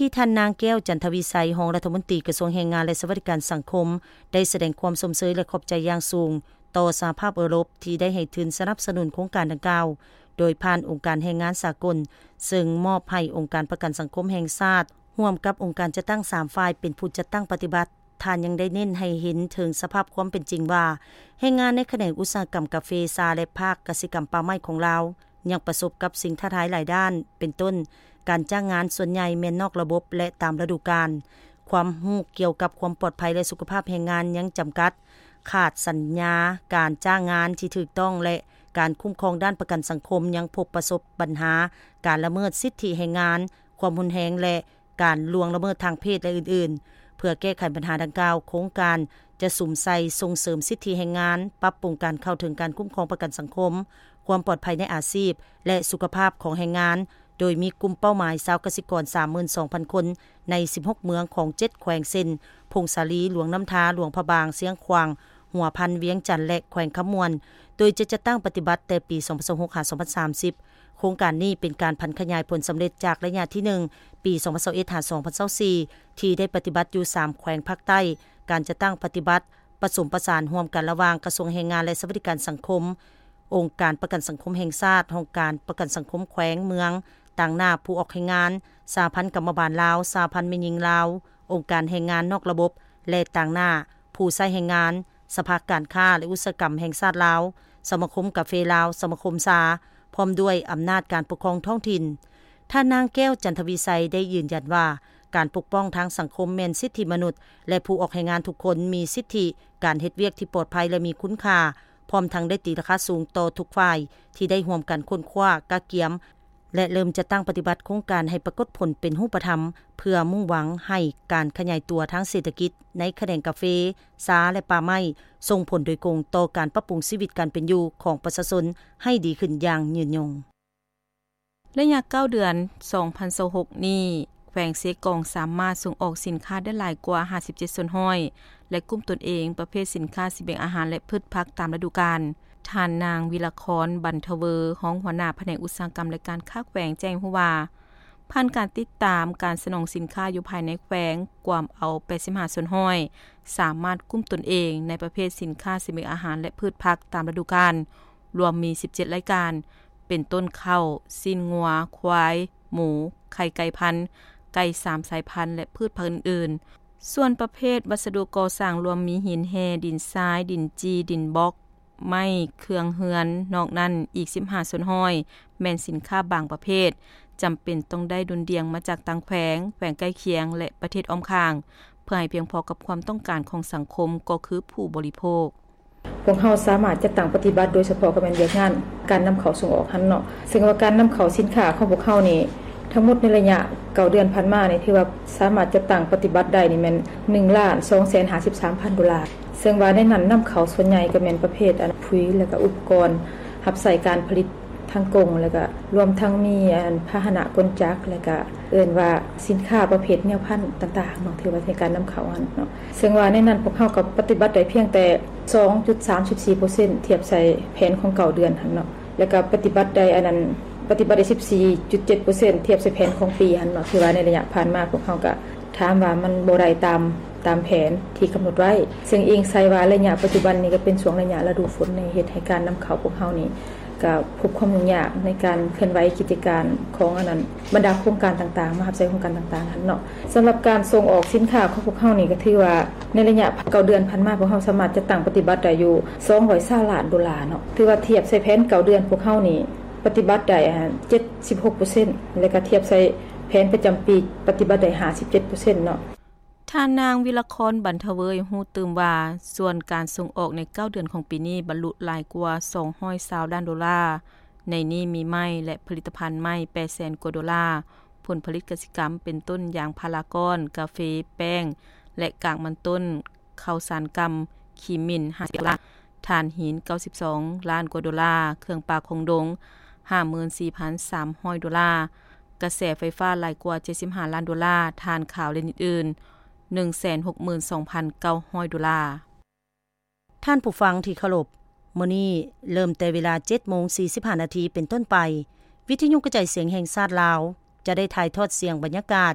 ທີ່ທ່ານນາງ ແກ້ວ ຈັນທະວິໄສ ຮອງລັດຖະມົນຕີກະຊວງແຮງງານ ແລະ ສະຫວັດດີການສັງຄົມ ໄດ້ສະແດງຄວາມຊົມເຊີຍ ແລະ ຂອບໃຈຢ່າງສູງຕໍ່ສະຫະພາບເອີຣົບ ທີ່ໄດ້ໃຫ້ທຶນສະໜັບສະໜູນໂຄງການດັ່ງກ່າວ ໂດຍຜ່ານອົງການແຮງງານສາກົນ, ເຊິ່ງມອບໃຫ້ອົງການປະກັນສັງຄົມແຫ່ງຊາດ ຮ່ວມກັບອົງການຈັດຕັ້ງສາມຝ່າຍເປັນຜູ້ຈັດຕັ້ງປະຕິບັດ. ທ່ານຍັງໄດ້ເນັ້ນໃຫ້ເຫັນເຖິງສະພາບຄວາມເປັນຈິງວ່າ ແຮງງານໃນຂະແໜງອຸດສາຫະກຳກາເຟ, ຊາ ແລະ ພາກກະສິກຳປ່າໄມ້ຂອງລາວ ຍັງປະສົບກັບສິ່ງທ້າທາຍຫຼາຍດ້ານ, ເປັນຕົ້ນ ການຈ້າງງານສ່ວນໃຫຍ່ແມ່ນນອກລະບົບ ແລະ ຕາມລະດູການ, ຄວາມຮູ້ກ່ຽວກັບຄວາມປອດໄພ ແລະ ສຸຂະພາບແຮງງານຍັງຈຳກັດ, ຂາດສັນຍາການຈ້າງງານທີ່ຖືກຕ້ອງ ແລະ ການຄຸ້ມຄອງດ້ານປະກັນສັງຄົມຍັງພົບປະສົບບັນຫາການລະເມີດສິດທິແຮງງານ, ຄວາມຮຸນແຮງ ແລະ ການລ່ວງລະເມີດທາງເພດ ແລະ ອື່ນໆ. ເພື່ອແກ້ໄຂບັນຫາດັ່ງກ່າວ, ໂຄງການຈະສຸມໃສ່ສົ່ງເສີມສິດທິແຮງງານ, ປັບປຸງການເຂົ້າເຖິງການຄຸ້ມຄອງປະກັນສັງຄົມ, ຄວາມປອດໄພໃນອາຊີບ ແລະ ສຸຂະພາບຂອງແຮງງານ, ໂດຍມີກຸ່ມເປົ້າໝາຍຊາວກະສິກອນສາມໝື່ນສອງພັນຄົນ ໃນສິບຫົກເມືອງຂອງເຈັດແຂວງ ເຊັ່ນ ຜົ້ງສາລີ, ຫຼວງນ້ຳທາ, ຫຼວງພະບາງ, ຊຽງຂວາງ, ຫົວພັນ, ວຽງຈັນ ແລະ ແຂວງຄຳມ່ວນ, ໂດຍຈະຈັດຕັ້ງປະຕິບັດແຕ່ປີສອງພັນຊາວຫົກ ຫາ ສອງພັນສາມສິບ. ໂຄງການນີ້ເປັນການຜັນຂະຫຍາຍຜົນສຳເລັດຈາກໄລຍະທີໜຶ່ງ ປີສອງພັນຊາວເອັດ ຫາ ສອງພັນຊາວສີ່ ທີ່ໄດ້ປະຕິບັດຢູ່ສາມແຂວງພາກໃຕ້. ການຈັດຕັ້ງປະຕິບັດປະສົມປະສານຮ່ວມກັນລະຫວ່າງກະຊວງແຮງງານ ແລະ ສະຫວັດດີການສັງຄົມ, ອົງການປະກັນສັງຄົມແຫ່ງຊາດ, ຫ້ອງການປະກັນສັງຄົມແຂວງ, ເມືອງ, ຕາງໜ້າຜູ້ອອກແຮງງານ, ສະຫະພັນກຳມະບານລາວ, ສະຫະພັນແມ່ຍິງລາວ, ອົງການແຮງງານນອກລະບົບ ແລະ ຕາງໜ້າຜູ້ໃຊ້ແຮງງານ, ສະພາການຄ້າ ແລະ ອຸດສາຫະກຳແຫ່ງຊາດລາວ, ສະມາຄົມກາເຟລາວ, ສະມາຄົມຊາ, ພ້ອມດ້ວຍອຳນາດການປົກຄອງທ້ອງຖິ່ນ. ທ່ານນາງ ແກ້ວ ຈັນທະວິໄສ ໄດ້ຢືນຢັນວ່າ ການປົກປ້ອງທາງສັງຄົມແມ່ນສິດທິມະນຸດ ແລະ ຜູ້ອອກແຮງງານທຸກຄົນມີສິດທິການເຮັດວຽກທີ່ປອດໄພ ແລະ ມີຄຸນຄ່າ, ພ້ອມທັງໄດ້ຕີລາຄາສູງຕໍ່ທຸກຝ່າຍທີ່ໄດ້ຮ່ວມກັນຄົ້ນຄວ້າ, ກະກຽມ ແລະ ເລີ່ມຈັດຕັ້ງປະຕິບັດໂຄງການໃຫ້ປາກົດຜົນເປັນຮູບປະທຳ ເພື່ອມຸ່ງຫວັງໃຫ້ການຂະຫຍາຍຕົວທາງເສດຖະກິດໃນຂະແໜງກາເຟ, ຊາ ແລະ ປ່າໄມ້ ສົ່ງຜົນໂດຍກົງຕໍ່ການປັບປຸງຊີວິດການເປັນຢູ່ຂອງປະຊາຊົນໃຫ້ດີຂຶ້ນຢ່າງຍືນຍົງ. ໄລຍະເກົ້າເດືອນສອງພັນຊາວຫົກນີ້, ແຂວງເຊກອງສາມາດສົ່ງອອກສິນຄ້າໄດ້ຫຼາຍກວ່າຫ້າສິບເຈັດສ່ວນຮ້ອຍ ແລະ ກຸ່ມຕົນເອງປະເພດສິນຄ້າສະບຽງອາຫານ ແລະ ພືດຜັກຕາມລະດູການ. ທ່ານນາງ ວິລະຄອນ ບັນທະເວີ ຮອງຫົວໜ້າພະແນກອຸດສາຫະກຳ ແລະ ການຄ້າແຂວງ ແຈ້ງໃຫ້ຮູ້ວ່າ ຜ່ານການຕິດຕາມການສະໜອງສິນຄ້າຢູ່ພາຍໃນແຂວງ ກວມເອົາແປດສິບຫ້າສ່ວນຮ້ອຍ ສາມາດກຸ້ມຕົນເອງໃນປະເພດສິນຄ້າສະບຽງອາຫານ ແລະ ພືດຜັກຕາມລະດູການ ລວມມີສິບເຈັດລາຍການ ເປັນຕົ້ນເຂົ້າ, ຊີ້ນງົວ, ຄວາຍ, ໝູ, ໄຂ່ໄກ່ພັນ, ໄກ່ສາມສາຍພັນ ແລະ ພືດຜັກອື່ນໆ. ສ່ວນປະເພດວັດສະດຸກໍ່ສ້າງລວມມີຫີນແຮ່, ດິນຊາຍ, ດິນຈີ່, ດິນບລັອກ, ໄມ້ເຄື່ອງເຮືອນ, ນອກນັ້ນອີກສິບຫ້າສ່ວນຮ້ອຍ ແມ່ນສິນຄ້າບາງປະເພດ ຈຳເປັນຕ້ອງໄດ້ດຸ່ນດ່ຽງມາຈາກຕ່າງແຂວງ, ແຂວງໃກ້ຄຽງ ແລະ ປະເທດອ້ອມຂ້າງ ເພື່ອໃຫ້ພຽງພໍກັບຄວາມຕ້ອງການຂອງສັງຄົມ ກໍຄືຜູ້ບໍລິໂພກ. ພວກເຮົາສາມາດຈັດຕັ້ງປະຕິບັດ ໂດຍສະເພາະກໍແມ່ນວຽກງານການນຳເຂົ້າສົ່ງອອກຫັ້ນເນາະ, ເຊິ່ງວ່າການນຳເຂົ້າສິນຄ້າຂອງພວກເຮົານີ້ ທັງໝົດໃນໄລຍະເກົ້າເດືອນຜ່ານມານີ້ ຖືວ່າສາມາດຈັດຕັ້ງປະຕິບັດໄດ້ນີ້ແມ່ນໜຶ່ງລ້ານສອງແສນຫ້າສິບສາມພັນໂດລາ, ເຊິ່ງວ່າໃນນັ້ນນຳເຂົ້າສ່ວນໃຫຍ່ກໍແມ່ນປະເພດ ອັນ ປຸ໋ຍ ແລ້ວກໍອຸປະກອນຮັບໃຊ້ການຜະລິດທາງກົງ ແລ້ວກໍລວມທັງມີ ອັນ ພາຫະນະກົນຈັກ ແລ້ວກໍເອີ້ນວ່າສິນຄ້າປະເພດແນວພັນຕ່າງໆເນາະ ຖືວ່າໃນການນຳເຂົ້າຫັ້ນເນາະ, ເຊິ່ງວ່າໃນນັ້ນພວກເຮົາກໍປະຕິບັດໄດ້ພຽງແຕ່ສອງຈຸດສາມສິບສີ່ເປີເຊັນ ທຽບໃສ່ແຜນຂອງເກົ້າເດືອນຫັ້ນເນາະ. ແລ້ວກໍປະຕິບັດໄດ້ ອັນນັ້ນ ປະຕິບັດໄດ້ສິບສີ່ຈຸດເຈັດເປີເຊັນ ທຽບໃສ່ແຜນຂອງປີຫັ້ນເນາະ, ຖືວ່າໃນໄລຍະຜ່ານມາພວກເຮົາກໍຖາມວ່າມັນບໍ່ໄດ້ຕາມ ຕາມແຜນທີ່ກຳນົດໄວ້, ເຊິ່ງອີງໃສ່ວ່າໄລຍະປັດຈຸບັນນີ້ກໍເປັນຊ່ວງໄລຍະລະດູຝົນ ເຮັດໃຫ້ການນຳເຂົ້າພວກເຮົານີ້ກໍພົບຄວາມຫຍຸ້ງຍາກໃນການເຄື່ອນໄຫວກິດຈະການຂອງ ອັນນັ້ນ ບັນດາໂຄງການຕ່າງໆ ມະຫາວິທະຍາໄລ ໂຄງການຕ່າງໆຫັ້ນເນາະ. ສຳລັບການສົ່ງອອກສິນຄ້າຂອງພວກເຮົານີ້ ກໍຖືວ່າໃນໄລຍະເກົ້າເດືອນຜ່ານມາ ພວກເຮົາສາມາດຈັດຕັ້ງປະຕິບັດໄດ້ຢູ່ສອງຮ້ອຍຊາວລ້ານໂດລາເນາະ, ຖືວ່າທຽບໃສ່ແຜນເກົ້າເດືອນພວກເຮົານີ້ ປະຕິບັດໄດ້ ອ່າ ເຈັດສິບຫົກເປີເຊັນ ແລະກະທຽບໃສ່ແຜນປະຈຳປີປະຕິບັດໄດ້ຫ້າສິບເຈັດເປີເຊັນເນາະ. ທ່ານນາງ ວິລະຄອນ ບັນທະເວີຍ ຮູ້ຕື່ມວ່າ ສ່ວນການສົ່ງອອກໃນເກົ້າເດືອນຂອງປີນີ້ບັນລຸຫຼາຍກວ່າສອງຮ້ອຍຊາວລ້ານໂດລາ, ໃນນີ້ມີໄມ້ ແລະ ຜະລິດຕະພັນໄມ້ແປດແສນກວ່າໂດລາ, ຜົນຜະລິດກະສິກຳເປັນຕົ້ນຢາງພາລາກ້ອນ, ກາເຟ, ແປ້ງ ແລະ ກາກມັນຕົ້ນ, ເຂົ້າສານກຳ, ຂີ້ໝິ່ນ ຫ້າສິບເອັດລ້ານ, ຖ່ານຫີນ ເກົ້າສິບສອງລ້ານກວ່າໂດລາ, ເຄື່ອງປ່າຂອງດົງ ຫ້າໝື່ນສີ່ພັນສາມຮ້ອຍໂດລາ, ກະແສໄຟຟ້າຫຼາຍກວ່າເຈັດສິບຫ້າລ້ານໂດລາ, ຖ່ານຂາວ ແລະ ອື່ນໆ ໜຶ່ງແສນຫົກໝື່ນສອງພັນເກົ້າຮ້ອຍໂດລາ. ທ່ານຜູ້ຟັງທີ່ເຄົາລົບ, ມື້ນີ້ເລີ່ມແຕ່ເວລາເຈັດໂມງສີ່ສິບຫ້ານາທີເປັນຕົ້ນໄປ, ວິທະຍຸກະຈາຍສຽງແຫ່ງຊາດລາວ ຈະໄດ້ຖ່າຍທອດສຽງບັນຍາກາດ